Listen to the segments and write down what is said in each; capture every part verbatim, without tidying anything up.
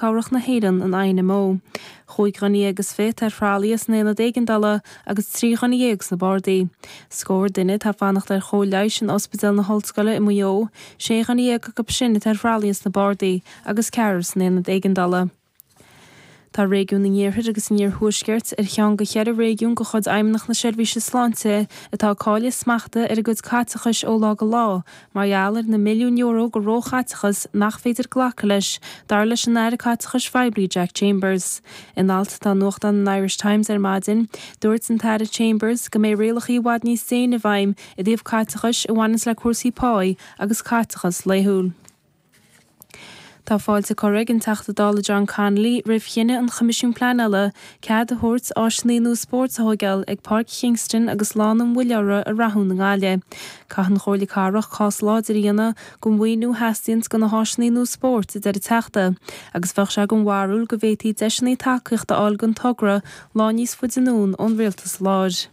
Cabhrach na hÉireann, an I N M O. Cúig dhuine dhéag is fiche atá ar thralaí san aonad éigeandála agus trí dhuine dhéag sna bardaí. Scór duine atá ag fanacht ar chóir leighis in Ospidéal na hOllscoile i Maigh Eo, sé dhuine dhéag acu sin atá ar thralaí sna bardaí agus ceathrar san aonad éigeandála. Tá réigiún an Iarthair agus an Iarthuaiscirt ar cheann de cheithre réigiún de chuid Fheidhmeannacht na Seirbhíse Sláinte atá ag cailleadh smachta ar a gcuid caiteachais ó lá go lá, mar gheall ar na milliúin euro de róchaiteachas nach féidir glacadh leis, dar leis an Aire Caiteachais Phoiblí Jack Chambers. In alt atá i nuachtán an Irish Times ar maidin, dúirt an tAire Chambers go mbeidh rialacha i bhfad níos déine i bhfeidhm i dtaobh caiteachais a bhaineanns le cúrsaí páí agus caiteachas laethúil. Tá fáilte curtha ag an Teachta Dála John Connolly roimh chinneadh an Choimisiúin Pleanála cead a thabhairt áiseanna nua spóirt a thógáil ag Páirc Kingston agus Lána an Mhuilleora i Rathún i nGaillimh. Caithfidh an Chomhairle Cathrach cás láidir a dhéanamh don mhaoiniú a theastaíonn do na háiseanna nua spóirt, a deir an Teachta, agus bheadh sé den bharúil go bhféadfaí deiseanna tacaíochta a fháil don togra lá níos faide anonn ón rialtas láir.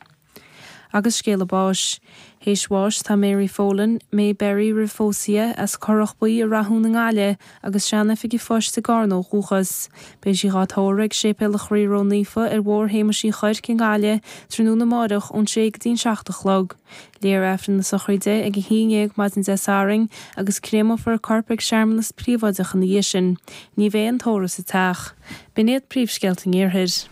Agus scéala báis. Théis bháis tá Mary Folan, May Berry roimh phósadh as Currach Buí i Rathún i nGaillimh agus sean-oifigeach phoist i gCarna ó dhúchas. Beidh sí á tórramh ag Séipéal an Chroí Ró-Naofa ar Bhóthar Shéamuis Uí Chuirc i nGaillimh tráthnóna amárach ón sé go dtí an seacht a chlog. Léifear Aifreann na sochraide ag a haon déag maidin Dé Sathairn agus créamófar a corp ag searmanas príobháideach ina dhiaidh sin. Ní bheidh an tórramh sa teach. B'in iad príomhscéalta an Iarthair.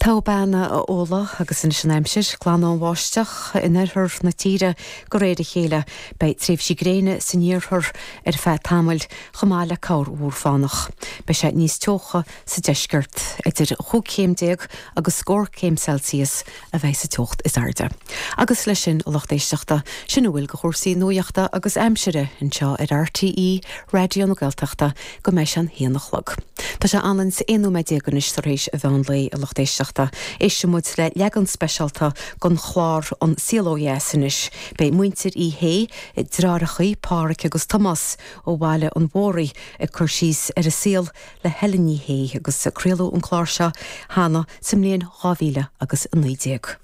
Tá beanna a óla agus anois an aimsir, glanfaidh an bháisteach in oirthear na tíre de réir a chéile, beidh tréimhsí gréine san iarthar ar feadh tamaill chomh maith le corrmhúr fánach. Beidh sé níos teocha sa deisceart idir chúig chéim déag agus scór céim Celsius a bheidh sa teocht is airde. Agus leis sin a lucht éisteachta sin a bhfuil de chúrsaí nuachta agus aimsire anseo ar R T É Raidió na Gaeltachta go mbeidh sé an haon a chlog. Tá sé ann aon nóiméad déag anois tar éis an mheán lae a lucht éisteachta. Éistfidh muid le leagan speisialta den chlár An Saol Ó Dheas anois. Beidh muintir Uí Shé, deartháireacha, Pádraig agus Tomás ó Bhaile an Mhóraigh ag cur síos ar a saol le Helen Ní Shé agus craoladh an clár seo cheana sa mbliain dhá mhíle agus a naoi déag.